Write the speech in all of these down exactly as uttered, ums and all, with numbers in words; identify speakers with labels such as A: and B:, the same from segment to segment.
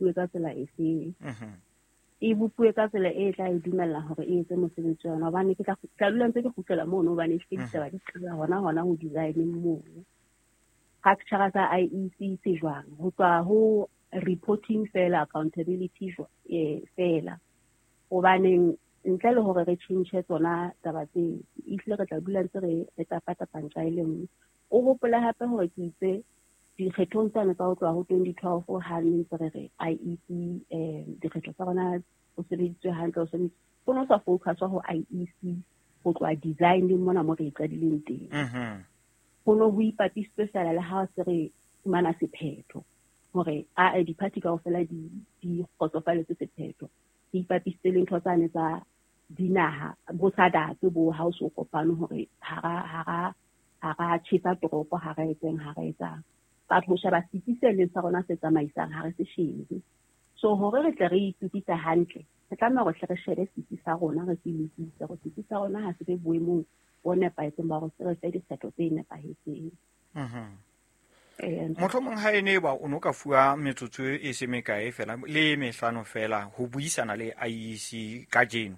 A: bopuwe ka tsela efeng. E bopuwe ka tsela e tla e dumella hore e etse mosebetsi wa yona, hobane ke tla tla dula ntse ke kgutlela mono, hobane ke ditaba di qala hona hona ho design mono. Structure sa I E C se jwang, ho tswa ho reporting fela, accountability eh fela, hobaneng ntle le hore re tjhentjhe tsona taba tse, ehlile re tla dula ntse re re tapatapa ntja e le nngwe. O hopole hape hore ke itse dikgethong tsane tsa ho tloha ho twenty twelve ha ne ntse re re I E C eh dikgetho tsa rona o sebeditswe hantle, o sebeditswe, ho no sa focus ho I E C ho tloha design mona mo re e qadileng teng. Ho no ho ipapisitswe fela le ha se re fumana sephetho hore a di-party kaofela di di kgotsofaletse sephetho, di ipapisitse le ntho tsane tsa dinaha bo SADC bo ha o so kopane hore hara hara hara tjhesa toropo, ha re etseng ha re etsang. Batho ho sheba setsi se leng sa rona se tsamaisang ha re se shebe. So hore re tle re itokise hantle, re tlameha hore hle re shebe setsi sa rona, re se lokise hore setsi sa rona ha se be boemong bo nepahetseng ba hore se re fe dikgetho tse nepahetseng.
B: Mohlomong ha e ne ba o no ka fuwa metsotso e se mekae fela le mehlano fela ho buisana le I E C kajeno,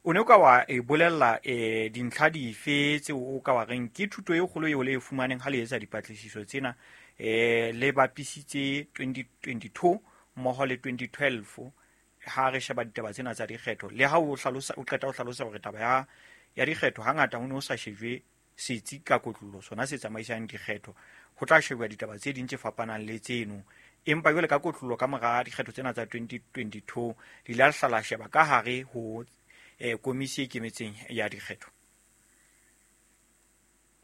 B: o ne o ka wa e bolella eh dintlha dife tseo o ka wa reng ke thuto e kgolo eo le e fumaneng ha le etsa dipatlisiso tsena, eh le bapisitse twenty twenty-two mmoho le twenty twelve ha re sheba ditaba tsena tsa dikgetho, le ha o hlalosa o qeta ho hlalosa hore taba ya ya dikgetho hangata ho ne ho sa shejwe setsi ka kotlolo sona se tsamaisang dikgetho, ho tla shebwa ditaba tse ding tse fapanang le tseno, empa jwale ka kotlolo ka mora dikgetho tsena tsa twenty twenty-two di la hlala sheba ka hare ho eh komisi e ikemetseng ya dikgetho.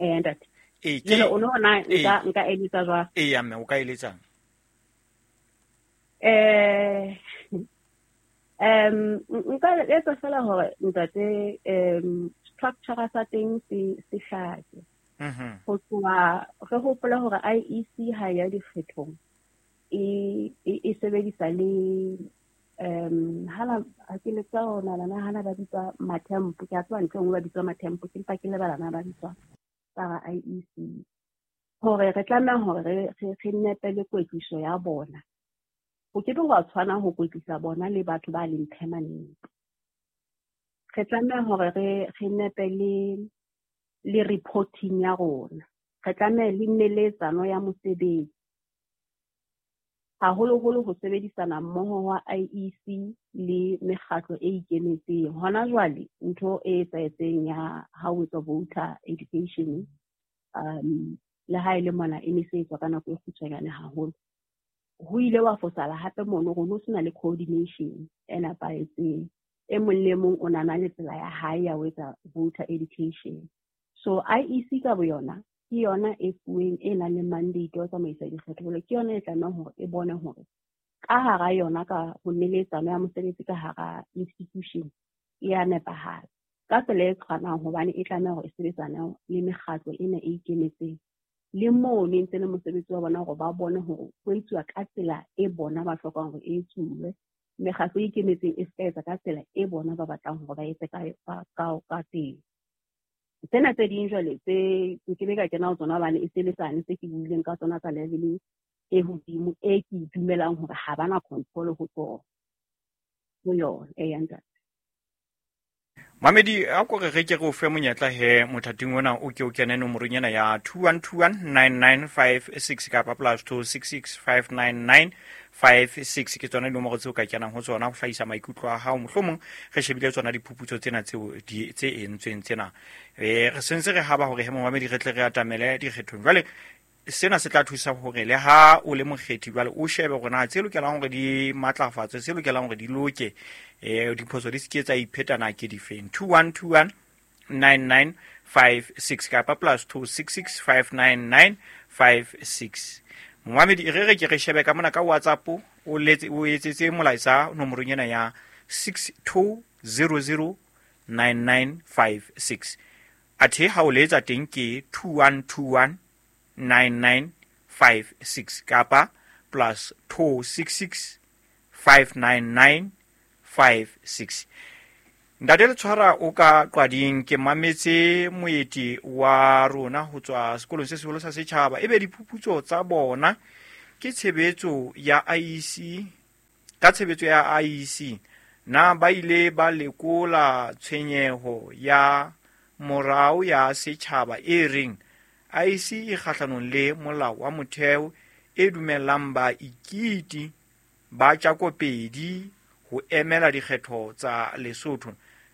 A: Eh ntate,
B: eh
A: ke o no na nka nka eletsa jwang?
B: Eh ya mme o ka eletsang?
A: Eh um nka eletsa fela hore ntate um structure sa teng se se hlake. Ho tloha re hopola hore I E C ha ya dikgethong e e sebedisa le um hala ha ke le tsa ona lana hana ba bitswa matempo, ke a tswa ntle nngwe ba bitswa matempo, ke mpa ke lebala na ba bitswa tsa I E C, hore re tlameha hore re re nepele kwetliso ya bona. Ho ke be wa tshwana ho kwetlisa bona le batho ba leng permanent. Re tlameha hore re re nepele le reporting ya rona, re tlameha le neletsano ya mosebetsi, haholoholo ho sebedisana mmoho wa I E C le mekgatlo e ikemetseng. Hona jwale ntho e etsahetseng ya ha ho etswa voter education, um le ha e le mona e ne se etswa ka nako e kgutshwanyane haholo, ho ile wa fosala hape mono hore ho sena le coordination e nepahetseng. E mong le mong o na na le tsela ya hae ya ho etsa voter education. So I E C ka boyona ke yona e fuweng e nang le mandate wa tsamaisa dikgetho, jwale ke yona e tlamehang hore e bone hore ka hara yona ka ho neletsano ya mosebetsi ka hara institution e ya nepahala ka tsela e tshwanang, hobane e tlameha hore e sebetsane le mekgatlo ena e ikemetseng le moo ne ntse le mosebetsi wa bona hore ba bone hore ho etsuwa ka tsela e bona ba hlokang hore e etsuwe. Mekgatlo e ikemetseng e se etsa ka tsela e bona ba batlang hore ba etse ka ka ka teng. Tsena tse ding jwale tse nke be ka kena ho tsona hobane e se le tsane tse ke buileng ka tsona tsa level e hodimo e ke dumelang hore ha bana control ho tsona ho yona. E ya ntate
B: Mamedi, a ko re re ke re o fe monyetla he mothating ona o ke o kene nomorong ena ya two one two one nine nine five six kapa plus two six six five nine nine five six, ke tsona dinomoro tseo ka kenang ho tsona ho hlahisa maikutlo a hao. Mohlomong re shebile tsona diphuputso tsena tseo di tse entsweng tsena, eh re sentse re haba hore he momamedi re tle re atamele dikgethong. Jwale sena se tla thusa hore le ha o le mokgethi jwale o shebe hore na tse lokelang hore di matlafatswe, tse lokelang hore di loke, eh diphoso di se ke tsa iphetana ke difeng. two one two one nine nine five six kapa plus two six six five nine nine five six. Momamedi, re re ke re shebe ka mona ka WhatsApp, o letse o etsetse molaetsa nomorong ena ya six two zero zero nine nine five six. Athe ha o letsa teng ke two one two one nine nine five six kapa plus two six six five nine nine five six. Ntate Letshwara o ka qwading, ke mametse moeti wa rona ho tswa sekolong se seholo sa setjhaba, ebe diphuputso tsa bona ke tshebetso ya I E C Ka tshebetso ya I E C, na ba ile ba lekola tshwenyeho ya morao ya setjhaba e reng I E C e kgahlanong le molao wa motheo e dumellang baikiti ba tjakopedi ho emela dikgetho tsa Lesotho.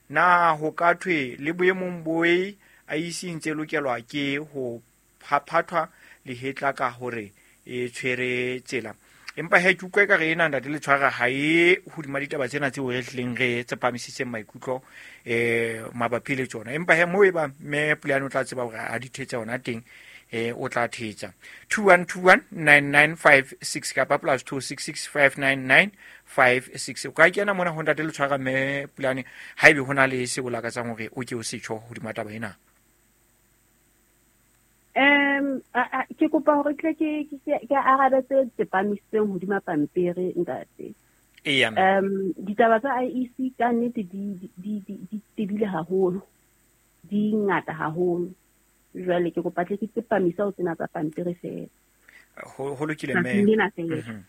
B: Na ho ka thwe le boemong boe I E C ntse lokelwa ke ho phaphathwa lehetla ka hore e tshwere tsela? Empa he ke utlwa ekare ena ntate le tshwara ha e hodima ditaba tsena tseo re hlileng re tsepamisitseng maikutlo eh mabapi le tsona. Empa he moo e ba mme Pulane o tla tseba hore a di thetse hona teng, eh o tla thetsa. two one two one nine nine five six kapa plus two six six five nine nine five six. O ka kena mona ho ntate le tshwara mme Pulane haebe hona le seo o lakatsang hore o ke o se tjho hodima taba ena.
A: Um ke kopa hore tle ke ke arabe tse tsepamisitseng hodima pampiri ntate.
B: Eya.
A: Um ditaba tsa I E C ka nnete di di di di tebile haholo, di ngata haholo. Jwale ke kopa tle ke tsepamisa ho tsena tsa pampiri feela.
B: Ho ho lokile mme.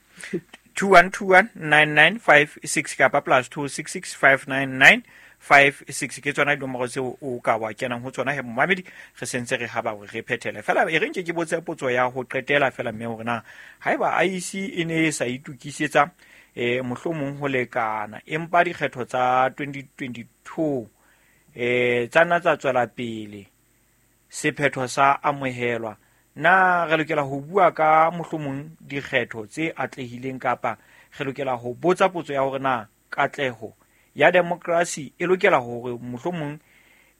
B: two one two one nine nine five six kapa plus two six six five nine nine five six ke tsona dinomoro tseo o ka wa kenang ho tsona he momamedi re sentse re haba hore re phethele fela e re nke ke botse potso ya ho qetela fela mme hore na haeba I E C e ne e sa itukisetsa eh mohlomong ho lekana empa dikgetho tsa twenty twenty-two eh tsa nna tsa tswela pele sephetho sa amohelwa, na re lokela ho bua ka mohlomong dikgetho tse atlehileng kapa re lokela ho botsa potso ya hore na katleho ya demokrasi e lokela hore mohlomong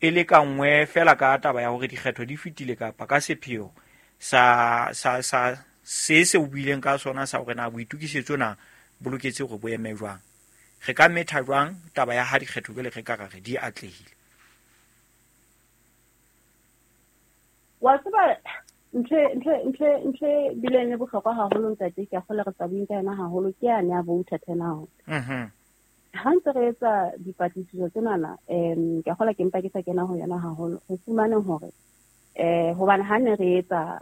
B: e lekangwe fela ka taba ya hore dikgetho di fetile kapa ka sepheo sa sa sa se se o buileng ka sona sa hore na boitukisetso na bo loketse hore bo eme jwang. Re ka metha jwang taba ya ha dikgetho jwale re ka ra re di atlehile?
A: Wa tseba ntho ntho ntho ntho bileng le bohlokwa haholo ntate, ke a kgolwa re tla bueng ka yona haholo, ke yane ya voter turnout.
B: Mhm.
A: Ha ntse re etsa dipatlisiso tsenana, um ke a kgolwa ke mpa ke sa kena ho yona haholo, re fumane hore eh hobane ha ne re etsa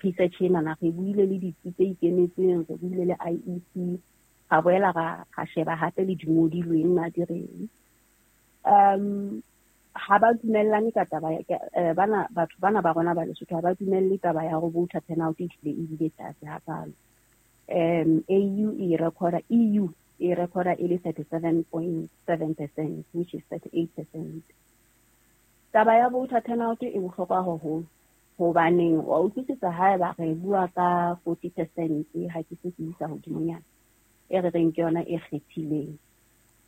A: research enana re buile le ditsi tse ikemetseng, re buile le I E C, ra boela ra ra sheba hape le dingodilweng na di reng. Um ha ba dumellane ka taba ya bana batho bana ba rona ba Lesotho ha ba dumelle taba ya hore voter turnout e hlile e bile tlase hakalo. Um A U e recorda E U e recorda e le thirty-seven point seven percent, which is thirty-eight percent. Taba ya voter turnout e bohlokwa haholo hobaneng wa utlwisisa haeba re bua ka forty percent ha ke se ke isa hodimonyana e re reng ke yona e kgethileng,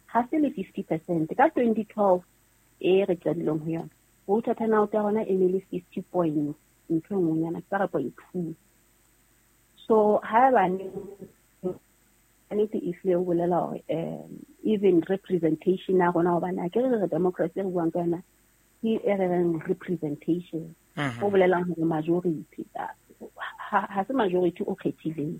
A: ha se le fifty percent ka twenty twelve e re qadileng ho yona voter turnout ya rona e ne le fifty point ntho e nngwenyana ka re point two. So haeba nnete e hlile o bolela hore um even representation ya rona, hobane ha ke re re democracy re buang ka yona ke e re reng representation, o bolelang hore majority ha se majority o kgethileng.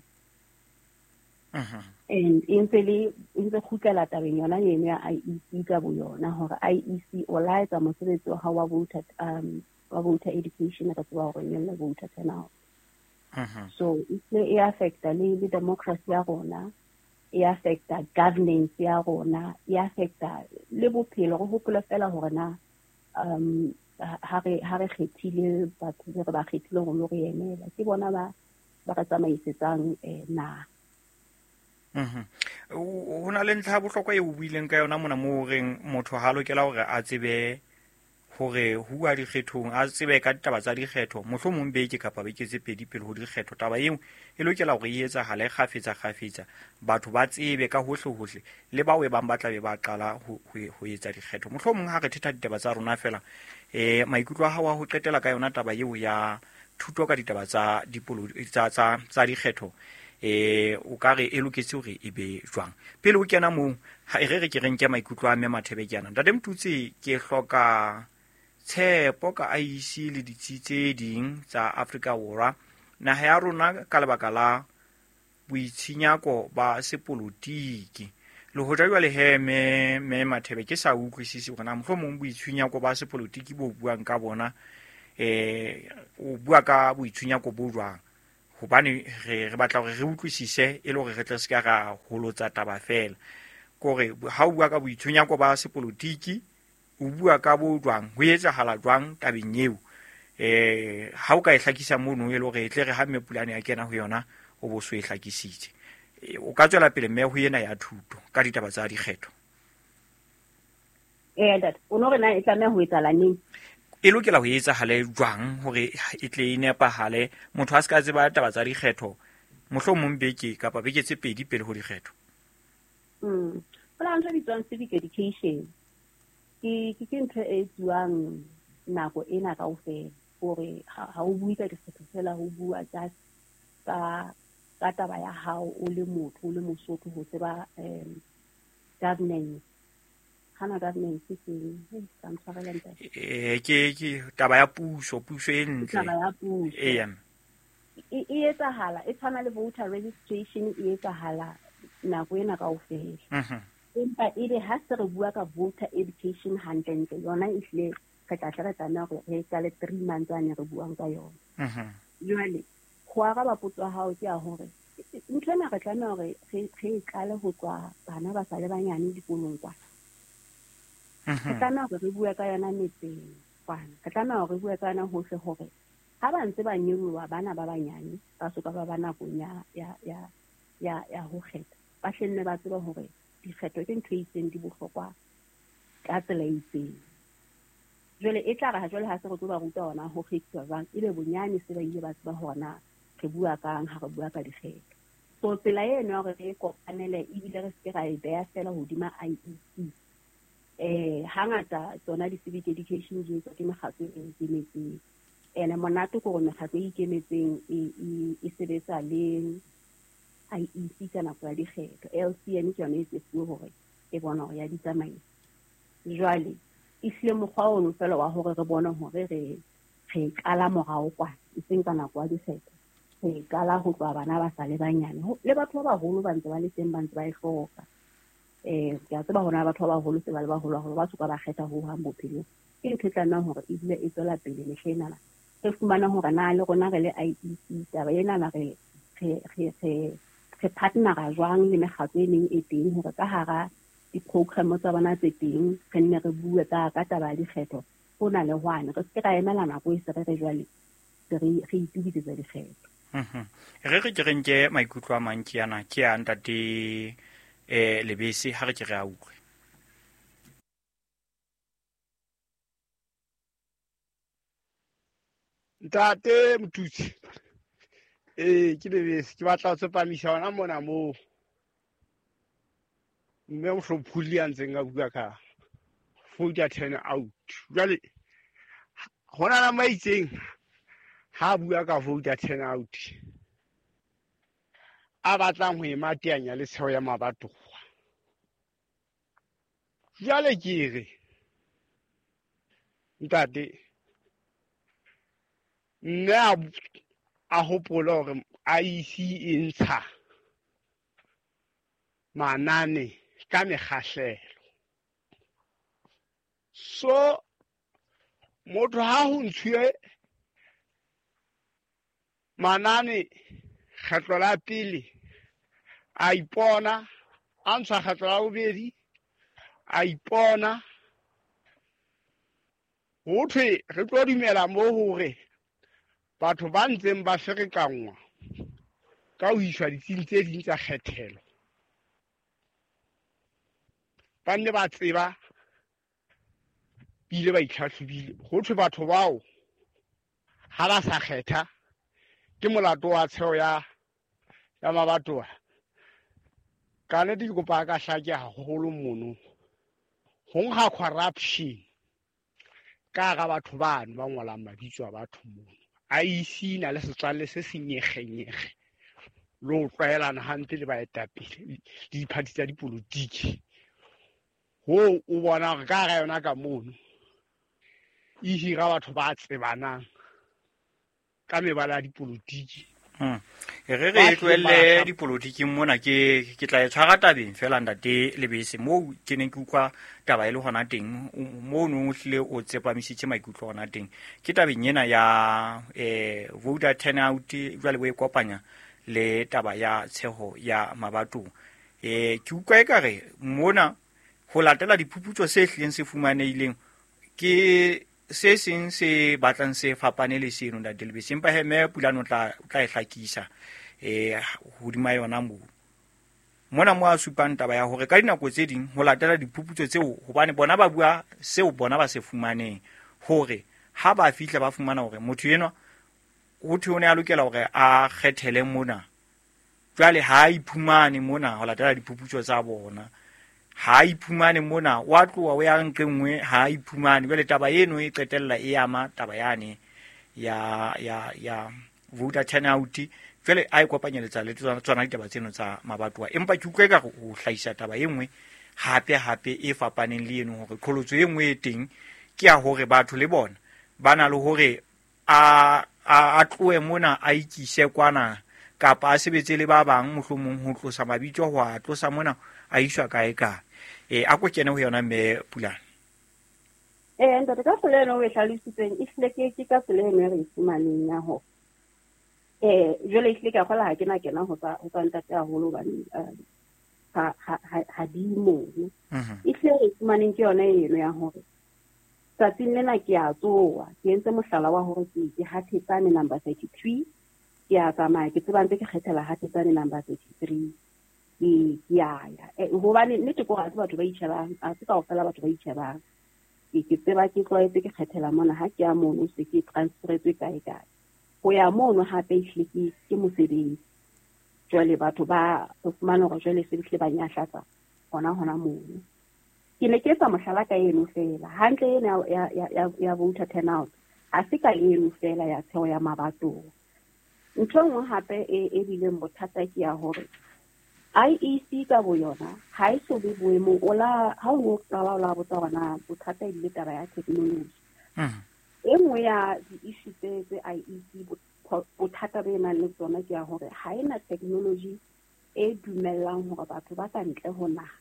A: And e ntse le e ntse kgutlela tabeng yona eno ya I E C ka boyona hore I E C o la etsa mosebetsi wa hao wa voter um wa voter education re tseba hore nyolla voter turnout. So e tle e affecta le le democracy ya rona, e affecta governance ya rona, e affecta le bophelo. Re hopola fela hore na um ha re ha re kgethile batho re ba kgethile hore lo re emela ke bona ba ba re tsamaisetsang eh naha.
B: Mhm. Ho na le ntlha ya bohlokwa e o buileng ka yona mona moo reng motho ha lokela hore a tsebe hore huwa dikgethong, a tsebe ka ditaba tsa dikgetho mohlomong beke kapa beke tse pedi pele ho dikgetho. Taba eo e lokela hore e etsahale kgafetsa kgafetsa, batho ba tsebe ka hohle hohle le bao e bang ba tla be ba qala ho ho etsa dikgetho. Mohlomong ha re thetha ditaba tsa rona fela eh maikutlo a hao a ho qetela ka yona taba eo ya thuto ka ditaba tsa dipolo tsa tsa tsa dikgetho eh o ka re e loketse hore e be jwang? Pele o kena moo ha e re re ke re nke maikutlo a mme Mathebe ke ana. Ntate Motutsi, ke hloka tshepo ka I E C le ditsi tse ding tsa Afrika Borwa. Naha ya rona ka lebaka la boitshinyako ba sepolotiki le hoja jwale he me me Mathebe ke sa utlwisisi hore na mohlomong boitshinyako ba sepolotiki bo buang ka bona eh o bua ka boitshinyako bo jwang, Hobane re re batla hore re utlwisise e le hore re tle se ka ra holotsa taba fela. Kore ha o bua ka boitshunyako ba sepolotiki, o bua ka bo jwang, ho etsahala jwang tabeng eo. Eh ha o ka e hlakisa mono e le hore e tle re ha mme Pulane ya kena ho yona o bo so e hlakisitse. O ka tswela pele mme ho ena ya thuto ka ditaba tsa dikgetho.
A: Eh ntate, o no re na e tlameha ho etsahala neng?
B: E lokela ho etsahale jwang hore e tle e nepahale, motho a se ka tseba taba tsa dikgetho mohlomong beke kapa beke tse pedi pele ho dikgetho?
A: Mm. Ho na le ntho e bitswang civic education. Ke ke ke ntho e etsuwang nako ena kaofela, hore ha o bue ka dikgetho fela, ho bua just ka ka taba ya hao o le motho, o le Mosotho, ho tseba um governance. Hana governance ke eng? Ka ntshwarela ntate.
B: Eh ke ke taba ya puso, puso e ntle.
A: Taba ya puso.
B: Eh
A: e e etsahala, e tshwana le voter registration, e etsahala nako ena kaofela.
B: Mhm.
A: Empa ebe ha se re bua ka voter education hantlentle, yona e hlile re tla tle re tlameha hore re qale three months ane re buang ka yona.
B: Mhm.
A: Jwale ho araba potso ya hao ke ya hore ntho ena re tlameha hore re re qale ho tswa bana ba sa le banyane dikolong kwana. Re tlameha hore re bue ka yona metseng kwana. Re tlameha hore re bue ka yona hohle hore ha ba ntse ba nyoloha bana ba banyane ba soka ba ba nakong ya ya ya ya ya ho kgetha, ba hlenne ba tseba hore dikgetho ke ntho e itseng, di bohlokwa ka tsela e itseng. Jwale e tla re ha jwale ha se re tlo ba ruta hona ho kgethiwa jwang, ebe bonyane se ba ile ba tseba hore na re bua kang ha re bua ka dikgetho. So tsela eno ya hore re kopanele ebile re se ke ra e beha fela hodima I E C. Eh hangata tsona di-civic education di etswa ke mekgatlo e ikemetseng. Ene monate ke hore mekgatlo e ikemetseng e e sebetsa le I E C ka nako ya dikgetho. L C N ke yona e tsefuwe hore e bona hore ya di tsamaisa. Jwale e hlile mokgwa ono fela wa hore re bone hore re re qala morao kwana, e seng ka nako ya dikgetho. Re qala ho tloha bana ba sa le banyane, le batho ba baholo ba ntse ba le teng, ba ntse ba e hloka. Eh ke a tseba hona batho ba baholo se ba le baholo haholo, ba soka ba kgetha ho hang bophelong. Ke ntho e tlamehang hore e dule e tswela pele mehleng ena. Re fumana hore na le rona re le I E C taba ena na re re re re re partnera jwang le mekgatlo e meng e teng hore ka hara di-program tsa bona tse teng re nne re bue ka ka taba ya dikgetho hona le hwane, re se ke ra emela nako e se re re jwale re re itukisetsa dikgetho.
B: Mhm. Re re ke re nke maikutlo a mang ke ana ke a ntate eh Lebese, ha re ke re a utlwe.
C: Ntate Motutsi, eh ke Lebese, ke batla ho tsepamisa hona mona moo mme Mohlophuli a ntseng a bua ka voter turn out. Jwale hona le ma itseng ha bua ka voter turn out a batlang ho e mateanya le tsheho ya mabatowa. Jwale ke re ntate mme a hopole hore I E C e ntsha manane ka mekgahlelo. So motho ha ho ntshuwe manane kgetlo la pele a ipona, a ntshwa kgetlo la bobedi a ipona, ho thwe re tlo dumela moo hore batho ba ntseng ba ferekanngwa ka ho iswa ditsing tse ding tsa kgethelo ba nne ba tseba bile ba itlhahlobile. Ho thwe batho bao ha ba sa kgetha ke molato wa tsheho ya ya mabatowa. Ka nnete ke kopa ka hlake haholo mono ho nkga corruption ka hara batho bano ba ngolang mabitso a batho mono. I E C na le setswalle se senyegenyege le ho tlwaelana hampe le baetapele le diphathi tsa dipolotiki. Ho o bona hore ka hara yona ka mono e hira batho ba tsebanang ka mebala ya dipolotiki.
B: Mm. Re re tlohelle dipolotiking mona, ke ke tla e tshwara tabeng fela ntate Lebese, moo ke neng ke utlwa taba e le hona teng, moo no hlile o tsepamisitse maikutlo hona teng. Ke tabeng ena ya eh voter turnout jwale bo e kopanya le taba ya tsheho ya mabatong. Eh ke utlwa ekare mona ho latela diphuputso se hlileng se fumanehileng ke se seng se batlang se fapane le seno ntate Lebese, empa he mme Pulane o tla o tla e hlakisa eh hodima yona moo. Mona mo a supang taba ya hore ka dinako tse ding ho latela diphuputso tseo, hobane bona ba bua seo bona ba se fumaneng, hore ha ba fihla ba fumana hore motho enwa ho thwe o ne a lokela hore a kgethele mona, jwale ha a iphumane mona ho latela diphuputso tsa bona, ha iphumane mona wa tloha o ya nqe nngwe, ha iphumane. Jwale taba eno e qetella e ama taba yane ya ya ya voter turnout, jwale a e kopanyeletsa le tsona tsona ditaba tseno tsa mabatowa. Empa ke utlwa ekare o hlahisa taba e nngwe hape hape e fapaneng le eno, hore qholotso e nngwe e teng ke ya hore batho le bona ba na le hore a a a tlohe mona a ikise kwana, kapa a sebetse le ba bang mohlomong ho tlosa mabitso ho a tlosa mona a iswa kae kae. Eh a ko kene ho yona mme Pulane.
A: Eh ntate, ka tsela eno o e hlalositseng e hlile ke ke ka tsela eno e re e fumaneng ya hore eh jwale ehlile ke a kgola ha ke na kena ho tsa ho tsa ntate haholo hobane ha ha ha di mono. Ehlile re fumaneng ke yona eno ya hore tsatsing lena ke a tsoha, ke entse mohlala wa hore ke ke Hathetsane number thirty-three, ke a tsamaya ke tseba ntse ke kgethela Hathetsane number thirty-three, ke ke a ya hobane nnete ke hore ha se batho ba itjhebang, ha se kaofela batho ba itjhebang. Ke ke tseba ke tlwaetse ke kgethela mona, ha ke ya mono se ke transferetswe kae kae. Ho ya mono hape ehlile ke ke mosebetsi. Jwale batho ba o fumana hore jwale se hlile ba nyahlatsa hona hona mono. Ke ne ke etsa mohlala ka eno fela, hantle ena ya ya ya ya voter turnout ha se ka eno fela ya tsheho ya mabatowa. Ntho e nngwe hape e e bileng bothata ke ya hore I E C ka boyona ha e so be boemong o la ha o qala o la botsa hore na bothata e bile taba ya technology. E nngwe ya di-issue tse tse I E C bothata bo e nang le tsona ke ya hore ha ena technology e dumellang hore batho ba ka ntle ho naha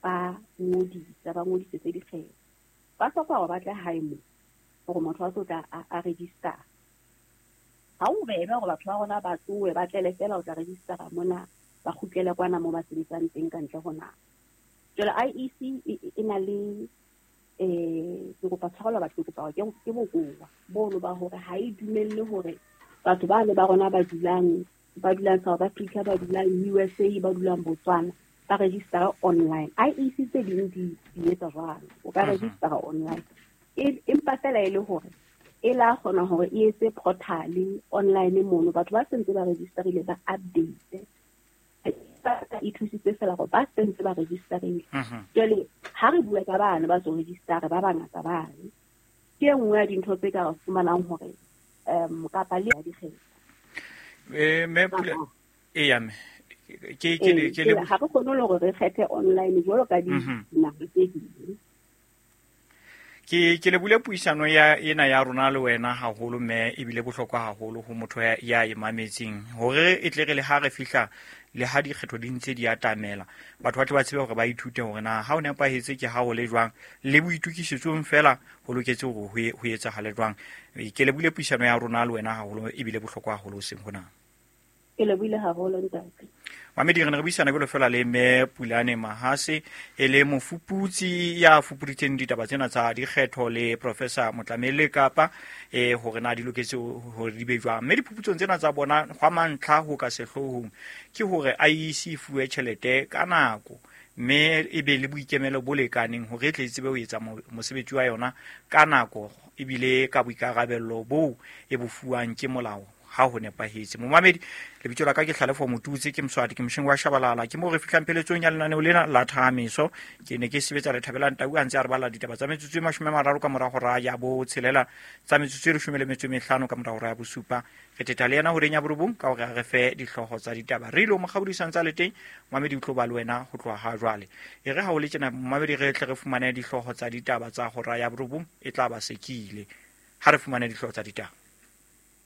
A: ba ngodisa, ba ngodisetse dikgetho. Ba hloka hore ba tle hae moo hore motho a tlo tla a register. Ha o bebe hore batho ba rona ba tsohe ba tlele fela ho tla registera mona, ba kgutlele kwana moo ba sebetsang teng ka ntle ho naha. Jwale I E C e na le eh ke kopa tshwarelo batho, ke kopa ke ke bokowa bono ba hore ha e dumelle hore batho ba le ba rona ba dulang ba dulang South Africa, ba dulang U S A, ba dulang Botswana ba register online. I E C tse ding di di etsa jwalo, o ka register online, empa fela e le hore e la kgona hore e etse portal online mono batho ba sentse ba registerile ba update, e thusitse fela hore ba sentse ba registerile. Jwale ha re bua ka bana ba so register ba bangata bane, ke e nngwe ya dintho tse ka re fumanang hore um kapa le dikgetho.
B: Eh me Pula e ya me ke ke ke le
A: ha re kgone le hore re kgethe online jwalo ka dinaha tse ding.
B: Ke ke le bule puisano ya ena ya rona le wena haholo mme ebile bohlokwa haholo ho motho ya ya e mametseng, hore e tle re le ha re fihla le ha dikgetho di ntse di atamela, batho ba tle ba tsebe hore ba ithute hore na ha o nepahetse ke ha o le jwang, le boitukisetsong fela ho loketse hore ho etsahale jwang. Ke le bule puisano ya rona le wena haholo ebile bohlokwa haholo seng hona.
A: Ke lebohile haholo ntate.
B: Mamedi, re ne re buisana jwalo fela le mme Pulane Mahase, e le mofuputsi ya fupuditseng ditaba tsena tsa dikgetho le Professor Motlamele Kapa, eh hore na di loketse hore di be jwang. Mme diphuputsong tsena tsa bona hwa mantlha ho ka sehloohong ke hore I E C e fuwe tjhelete ka nako, mme e be le boikemelo bo lekaneng hore e tle e tsebe ho etsa mosebetsi wa yona ka nako ebile ka boikarabello boo e bo fuwang ke molao ha ho nepahetse. Momamedi, lebitso la ka ke Hlalefo Motutsi, ke Mswati, ke mosheng wa Shabalala. Ke mo re fihlang pheletsong ya lenaneo lena la Thahamiso. Ke ne ke sebetsa le Thabelang Tau a ntse a re bala ditaba tsa metsotso e mashome a mararo ka mora hora ya botshelela, tsa metsotso e leshome le metso e mehlano ka mora hora ya bosupa. Re thetha le yena horeng ya borobong ka hore a re fe dihlooho tsa ditaba. Re ile mokgabolisa ntse a le teng, momamedi o tlo ba le wena ho tloha ha jwale. E re ha o le tjena momamedi, re tle re fumane dihlooho tsa ditaba tsa hora ya borobong, e tla ba sekile. Ha re fumane dihlooho tsa ditaba.